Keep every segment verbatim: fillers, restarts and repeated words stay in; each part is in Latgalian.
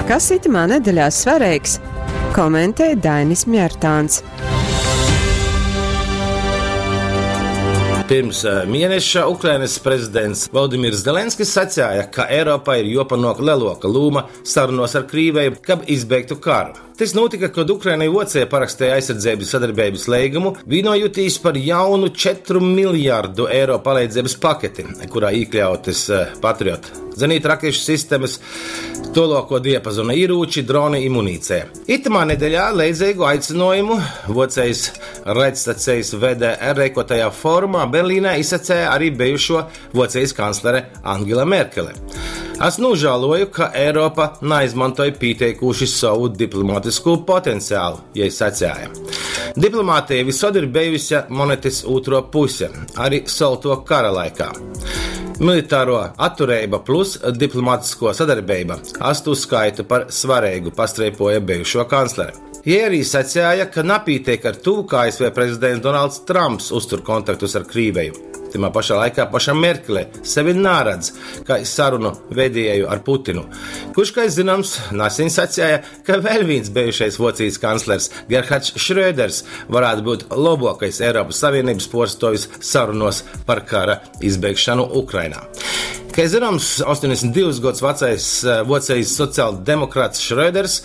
Kas itymā nedeļā svareigs, komentej Dainis Mjartāns. Pirms eh, mieneša Ukrainas prezidents Vladimirs Zelenskis sacēja, ka Eiropai ir jopanok leloka lūma sarunos ar Krīveju, kab izbeigtu karu. Tas notika, kad Ukraina i Voceja parakstēja aizsardzības sadarbības leigumu, vienojotīs par jaunu četru miljardu eiro palīdzības paketi, kurā iekļautas eh, Patriot zenītrakešu sistemas, toloko diapazona ierūči, droni i munīcija. Itamā nedeļā leidzīgu aicinājumu Vocejas raidstacijas V D R reikotajā forumā Berlīnē izsacēja arī bijušo Vocejas kanclere Angela Merkele. Es nožēloju, ka Eiropa neizmantoja pieteikuši savu diplomātisko potenciālu, ja sacēja. Diplomātija visod ir bijusi monetes otro puse, arī salto kara laikā. Militāro atturība plus diplomātisko sadarbība astu skaitu par svarīgu, pastreipoja bijušo kancleri. Jie arī sacēja, ka napītiek ar to, ka A S V prezidents Donalds Trumps uztur kontaktus ar Krīveju. Timā pašā laikā paša Merkele sevi nāradz, kā sarunu vedēju ar Putinu, kurš, kā zināms, nesen sacēja, ka vēl viens bijušais Vocijas kanclers Gerhards Schröders varētu būt labākais Eiropas Savienības porstovis sarunos par kara izbeigšanu Ukrainā. Kā zināms, astoņdesmit divus gadus vecais, eh, Vocijas sociāldemokrāts Schröders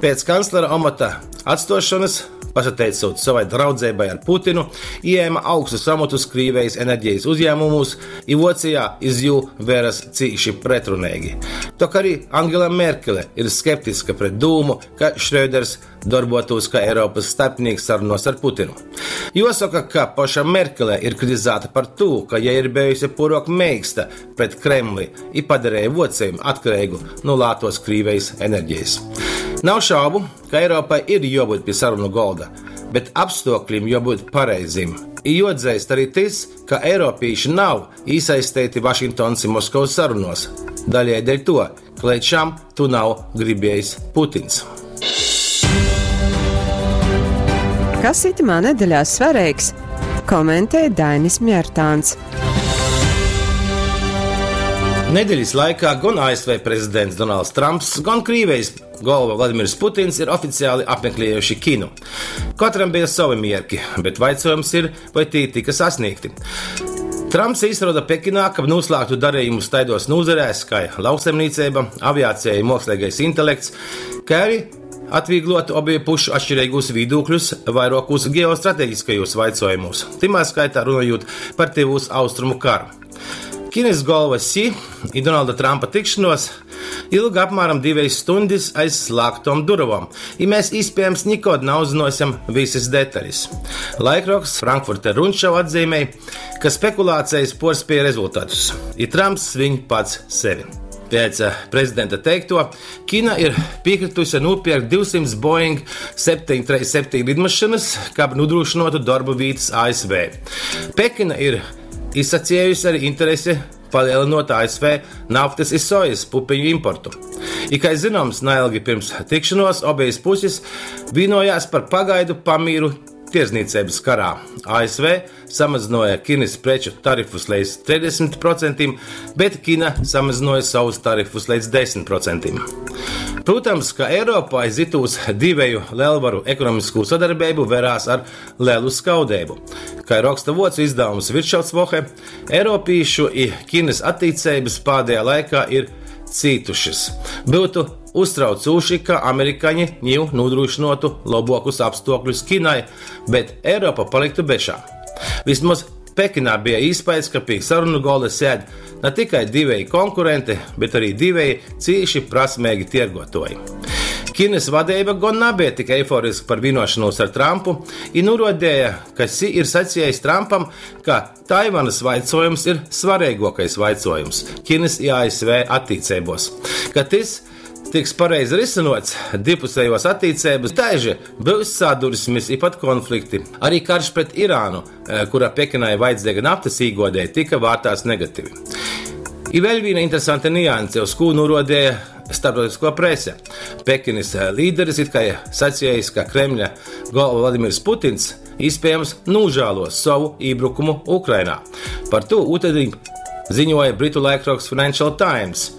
pēc kanclera amata atstošanas, pasateicot savai draudzībai ar Putinu, ieņēma augstus amatus Krīvijas enerģijas uzņēmumos, i Vocijā iz jū veras cīši pretrunīgi. Tok arī Angela Merkele ir skeptiska pret dūmu, ka Schröders darbotos kā Eiropas starpnieks sarunos ar Putinu. Jāsaka, ka paša Merkele ir kritizēta par to, ka ja ir bijusi porok meiksta pret Kremli i padarēja Vociju atkarīgu no lētos Krīvijas enerģijas. Nav šaubu, ka Eiropai ir jābūt pie sarunu golda, bet apstākļiem jābūt pareizim. I jāatzīst arī tas, ka eiropieši nav iesaistīti Vašingtonas un Maskavas sarunos. Daļai dēļ to, ka līdz šam tu nav gribējis Putins. Kas itamā nedeļā svarīgs, komentē Dainis Mjartāns. Nedēļas laikā gan A S V prezidents Donalds Trumps, gan Krīvijas galva Vladimirs Putins ir oficiāli apmeklējuši Kinu. Katram bija savi mierki, bet jautājums ir, vai tie tika sasniegti. Trumps izroda Pekinā, kab noslēgtu darījumus taidos nozarēs, kā lauksaimniecība, aviācija, mākslīgais intelekts, kā arī atvieglotu obiju pušu atšķirīgus viedokļus vairākos ģeostrateģiskajos jautājumos, timā skaitā runājot par Tuvos Austrumu karu. Kinas galva Xi i Donalda Trumpa tikšanos ilga apmēram divas stundas aiz slēgtām durvām, i mēs iespējams nekad neuzzināsim visas detaļas. Laikraksts Frankfurter Rundschau atzīmēja, ka spekulācijas porspēja rezultātus, i Trumps svin pats sevi. Pēc, eh, prezidenta teikto, Kina ir piekritusi nopirkt divsimt Boeing septiņi trīs septiņi lidmašīnas, kab nodrošinātu darba vietas A S V. Pekina ir izsacījusi arī interesi palielinot A S V naftas i sojas pupiņu importu. I, kā zināms, neilgi pirms tikšanos abejas puses vienojās par pagaidu pamīru tirdzniecības karā. A S V samazināja Kinas preču tarifus līdz trīsdesmit procentiem, bet Kina samazināja savus tarifus līdz desmit procentiem. Protams, ka Eiropā aiz itūs divēju lielvaru ekonomisko sadarbību verās ar lielu skaudību. Kā raksta vocu izdevums Wirtschaftswoche, Eiropiešu i Kinas attiecības pēdējā laikā ir cītušas. Būtu uztraucoši, ka amerikāņi jau nodrošinātu labākus apstākļus Kinai, bet Eiropa paliktu bešā. Vismaz Pekinā bija iespējas, ka pie sarunu galda sēd ne tikai divēji konkurenti, bet arī divēji cīši prasmīgi tirgotoji. Kinas vadība gan nebija tik eiforiska par vienošanos ar Trumpu, i nurodēja, ka Xi ir sacījis Trumpam, ka Taivanas vaicojums ir svarīgākais vaicojums Kinas i A S V attiecībos, ka tas tiks pareizi risinots divpusējos attiecības, taiži būs sadursmes i pat konflikti. Arī karš pret Irānu, eh, kurā Pekinai vajadzīga naftas īgodē, tika vērtās negatīvi. I vēl viena interesanta nianse, uz ko nurodēja starptautisko prese. Pekinas, eh, līderis it kā sacījis, ka Kremļa galva Vladimirs Putins iespējams nožēlos savu iebrukumu Ukrainā. Par to utedī ziņoja britu laikraksts Financial Times.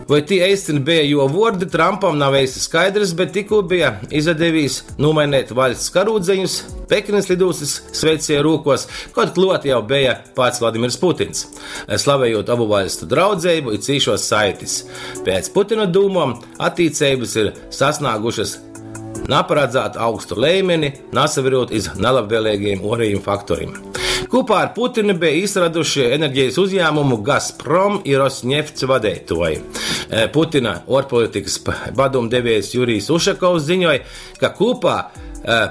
Voi tī eistyn beja juo vuordi, Trampam nav eisti skaidrys, bet tikū beja izadevīs nūmaineit vaļsts karūdzeņus Pekinys lidūstys sveicieju rūkuos, kod kluot jau beja pats Vladimirs Putins, slavejūt obu vaļstu draudzeibu i cīšuos saitis. Pēc Putina dūmom, attīceibys ir sasnāgušys naparadzātu augstu leimeni, nasaverūt iz nalabvēleigajim uorejim faktorim. Kūpā ar Putinu beja īsaraduši energejis uzjāmumu Gazprom i Rosneft vadeituoji. Putina uorpolitikys padūmdeviejs Jurijs Ušakovs ziņoj, ka kūpā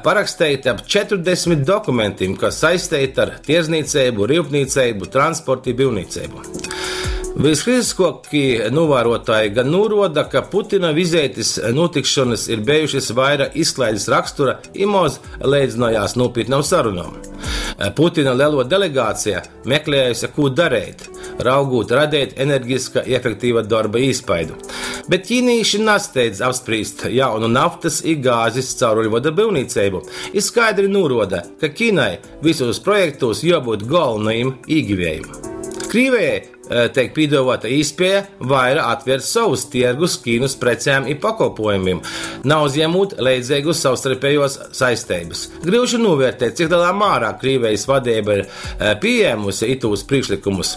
paraksteiti ap četrdesmit dokumentim, kas saisteiti ar tierdznīceibu, ryupnīceibu, transportu i byuvnīceibu. Viskritiskuokī nūvāruotuoji gan nūruoda, ka Putina vizeitis nūtikšonys ir bejušys vaira izklaidis rakstura i moz leidznojās nūpītnom sarunom. Putina leluo delegācija meklējuse, kū dareit, raugūt radeit energiska i efektīva dorba īspaidu. Bet ķīnīši nasteidz apsprīst jaunu naftys i gāzis cauruļvoda byuvnīceibu i skaidri nūruoda, ka Kinai vysūs projektūs juobyut golvonajim īgiviejim. Krīvejai teik pīduovuota īspieja vaira atvērt sovus tiergus Kīnys precēm i pakolpuojumim, nauzjemūt leidzeigus savstarpejuos saisteibys. Gryuši nūvērtēt, cik lielā mārā Krīvejis vadeiba ir pījēmuse itūs prīšklykumus,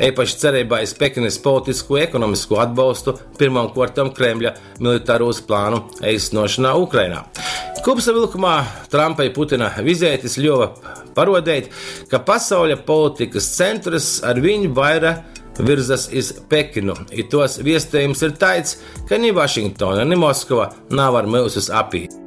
eipaši cereibā iz Pekinys politiskū i ekonomiskū atbolstu pyrmom kuortom Kremļa militarūs plānu eistynuošonā Ukrainā. Kūpsavylkumā Trampa i Putina vizeitis ļuove paruodeit, ka pasauļa politikys centrys arviņ vaira virzas iz Pekinu, i tuos viestejums ir taids, ka ni Vašingtona, ni Moskova navar myusus apīt.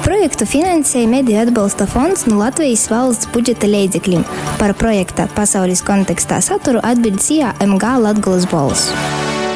Projektu finansēja Mediju atbalsta fonds nu Latvejis valsts budžeta leidzeklim. Par projekta Pasaulis kontekstā saturu atbiļd S I A M G Latgolys Bolss.